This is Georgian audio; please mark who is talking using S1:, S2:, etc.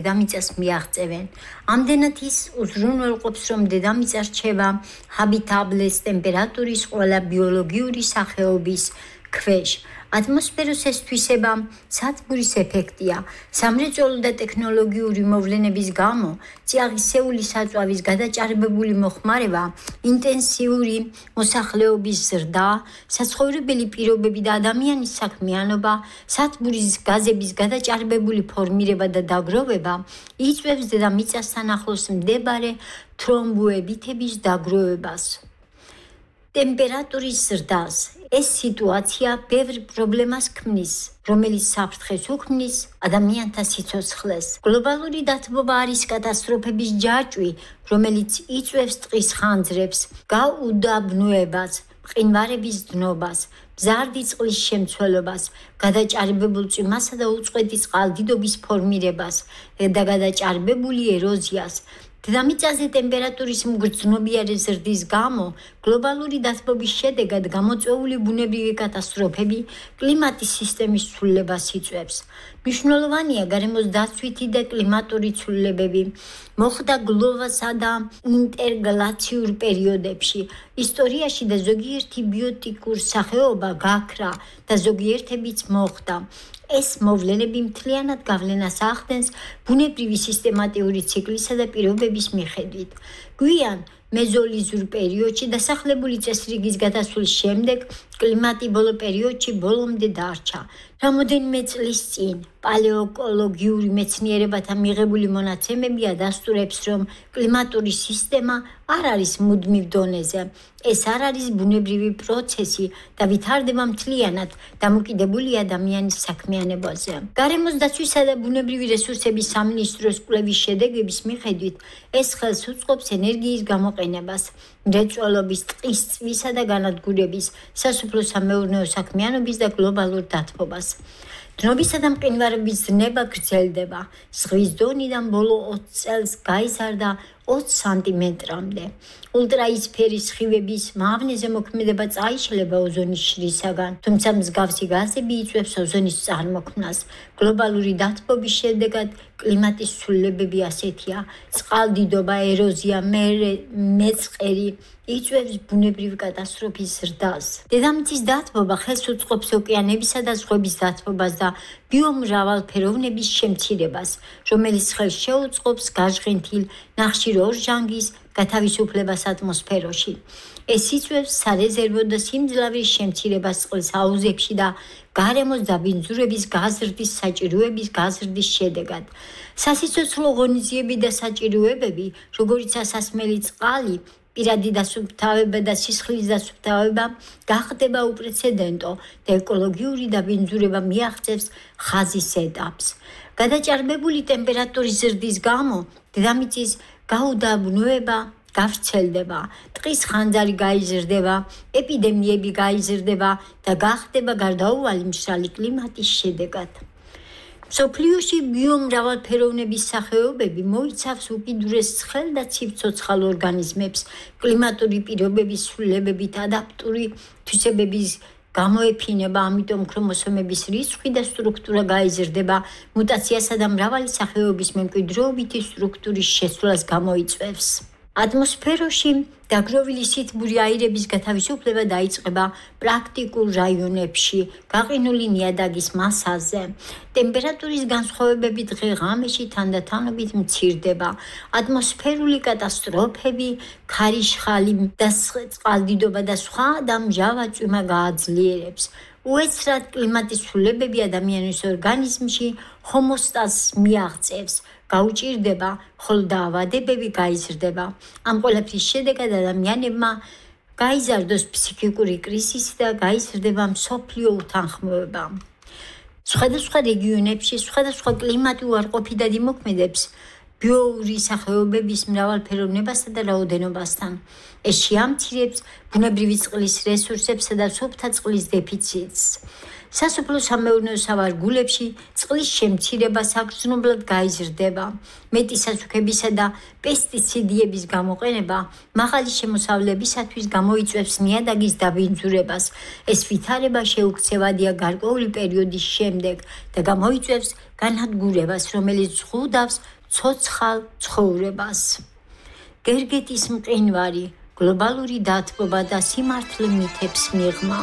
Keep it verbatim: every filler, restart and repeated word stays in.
S1: დედამიწას მიაღწევენ. ამდენად ის უზრუნველყოფს, რომ დედამიწა რჩება ჰაბიტაბლეს ტემპერატურის ყველა ბიოლოგიური სახეობის ქვეშ. ატმოსფეროს ეს თვისება სათბურის ეფექტია. სამრეწველო და ტექნოლოგიური მოვლენების გამო წიაღისეული საწვავის გადაჭარბებული მოხმარება, ინტენსიური მოსახლეობის ზრდა, საცხოვრებელი პირობები და ადამიანის საქმიანობა, სათბურის გაზების გადაჭარბებული ფორმირება და დაგროვება იწვევს დედამიწასთან ახლოს მდებარე თრომბოებითების დაგროვებას. ტემპერატურის ზრდას ეს სიტუაცია ბევრ პრობლემას ქმნის, რომელიც საფრთხეს უქმნის ადამიანთა სიცოცხლეს. გლობალური დათბობა არის კატასტროფების ჯაჭვი, რომელიც იწვევს ტყის ხანძრებს, გაუდაბნოებას, მყინვარების დნობას, მზარდი წყლის შემცველობას, გადაჭარბებულ წვიმასა და უწყვეტი წყალდიდობის ფორმირებას და გადაჭარბებული ეროზიას. დედამიწაზე ტემპერატურის მგრძნობიარე ზრდის გამო გლობალური დათბობის შედეგად გამოწვეული ბუნებრივი კატასტროფები კლიმატის სისტემის ცვლილებას იწვევს. მნიშვნელოვანია გარემოს დაცვითი და კლიმატური ცვლილებები მოხდა გლობალსა და ინტერგლაციურ პერიოდებში. ისტორიაში და ზოგიერთი ბიოტიკურ სახეობა გაქრა და ზოგიერთებიც მოხდა. ეს მოვლენები მთლიანად გავლენას ახდენს ბუნებრივი სისტემატიური ციკლისა და პირობების მიხედვით. გვიან მეზოლიზურ პერიოდში დასახლებული წესრიგის გადასვლის შემდეგ კლიმატი ბოლო პერიოდში ბოლომდე დარჩა. რამოდენიმე წლის წინ პალეოკოლოგიური მეცნიერებათა მიღებული მონაცემები ადასტურებს, რომ კლიმატური სისტემა არ არის მუდმივ დონეზე. ეს არ არის ბუნებრივი პროცესი და ვითარდება მთლიანად დამოკიდებული ადამიანის საქმიანობაზე. გარემოს დაცვისა და ბუნებრივი რესურსების სამინისტროს კვლევის შედეგების მიხედვით ეს ხელს უწყობს ენერგიის გამოყენებას, მრეწველობის, ტყის წვისა და განადგურების, სასოფლო-სამეურნეო საქმიანობის და გლობალურ დათბობას. დნობისა და მყინვარების ზრდება გრძელდება. ზღვის დონიდან ბოლო ოცი წელს გაიზარდა ოცი სანტიმეტრამდე. ულტრაიისფერის სხივების მავნეზე მოქმედება წაიშლება ოზონის შრისაგან, თუმცა მსგავსი გაზები იწვევს ოზონის წარმოქმნას. გლობალური დათბობის შედეგად კლიმატის ცვლილებები ასეთია: წყალდიდობა, ეროზია, მეწყერი იწვევს ბუნებრივი კატასტროფის ზრდას. დედამიწის დათბობა ხელს უწყობს ოკეანებისა და ზღვების დათბობას და ბიომრავალფეროვნების შემცირებას, რომელიც ხელს შეუწყობს გაჟღენთილ ნახშირორჟანგის გათავისუფლებას ატმოსფეროში. ეს იწვევს სარეზერვო და სიმძლავრის შემცირებას წყლის აუზებში და გარემოს დაბინძურების გაზრდის საჭიროების გაზრდის შედეგად. სასიცოცხლო ღონისძიებები და საჭიროებები, როგორიცაა სასმელი წყალი, პირადი დასუფთავება და სისხლის დასუფთავება გახდება უპრეცედენტო და ეკოლოგიური დაბინძურება მიაღწევს ხაზის ეტაპს. გადაჭარბებული ტემპერატურის ზრდის გამო დედამიწის გაუდაბნოება გავრცელდება, ტყის ხანძარი გაიზრდება, ეპიდემიები გაიზრდება და გახდება გარდაუვალი მშრალი კლიმატის შედეგად. მსოფლიოში ბიომრავალფეროვნების სახეობები მოიცავს უკიდურეს ცხელ და ცივ-ცოცხალ ორგანიზმებს, კლიმატური პირობების ცვლილებებით ადაპტური თვისებების გამოეფინება, ამიტომ ქრომოსომების რიცხვი და სტრუქტურა გაიზრდება, მუტაციასა და მრავალი სახეობის მემკვიდრეობითი სტრუქტურის შესვლას გამოიწვევს. ატმოსფეროში დაგროვილი სითბური აირების გათავისუფლება დაიწყება პრაქტიკულ რაიონებში, გაყინული ნიადაგის მასაზე. ტემპერატურის განსხვავებები დღე-ღამეში თანდათანობით მცირდება. ატმოსფერული კატასტროფები, ქარიშხალი და წყალდიდობა და სხვა და მჟავა წვიმა გააძლიერებს. უეცრად კლიმატის ცვლილებები ადამიანის ორგანიზმში ჰომოსტაზს მიაღწევს, გაუჭირდება, ხოლო დაავადებები გაიზრდება. ამ ყველაფრის შედეგად ადამიანებმა გაიზარდოს ფსიქიკური კრიზისი და გაიზრდება მსოფლიო უთანხმოება. სხვადასხვა რეგიონებში სხვადასხვა კლიმატი უარყოფითად იმოქმედებს ბიოური სახეობების მრავალფეროვნებასა და რაოდენობასთან. ეს შეამცირებს ბუნებრივი წყლის რესურსებსა და სუფთა წყლის დეფიციტს. სასოფლო-სამეურნეო სავარგულებში წყლის შემცირება საგრძნობლად გაიზრდება. მეტი სასუქებისა და პესტიციდების გამოყენება მაღალი შემოსავლებისათვის გამოიწვევს ნიადაგის დაბინძურებას. ეს ვითარება შეუქცევადია გარკვეული პერიოდის შემდეგ და გამოიწვევს განადგურებას, რომელიც ზღუდავს ცოცხალ ცხოვრებას. გერგეტის მყინვარი გლობალური დათბობა და სიმართლე მითებს მიღმა.